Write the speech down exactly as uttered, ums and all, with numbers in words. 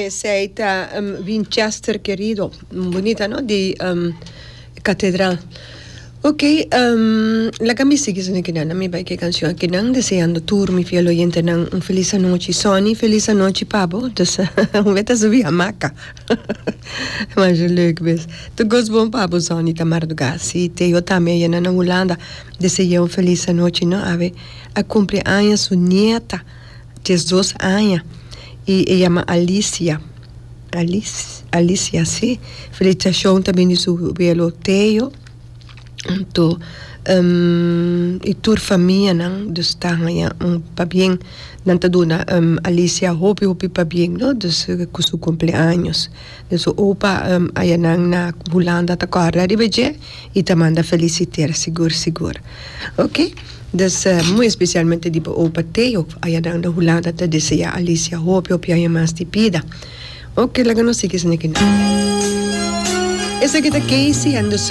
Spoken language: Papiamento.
Esey ta um, Winchester querido. Bunita, no? Di um, Catedral. Ok, um, laga mi sigui akinan, mi bay cu cancion akinan, deseando tur mi fiel oyentenan un feliz anochi. Sonny, feliz anochi pa bo. Dus, un beta subi hamaca. Maar zo leuk bes. Tur cos bon pa bo, Sonny, ta marduga. Si, Teo tambe ey na Hulanda. Desea un feliz anochi, no? Awe, a cumpli aña su nieta, diesdos aña. E, e yama Alicia. Alice, Alicia, si. Felicitacion tambe di su welo Teo. Anto, um, y tur famia nan, dus ta ja, un pabien nan ta duna um, Alicia hopi hopi pabien, no? Dus cu su cumpleaños. Dus opa um, ayanan na Hulanda ta corda riba dje y ta manda feliciteer sigur sigur. Ok? Dus uh, muy especialmente di opa Teo ayanan na Hulanda ta desea Alicia hopi hopi aña mas di bida. Ok, laga nos sigui akinan. Esaki ta Casey and the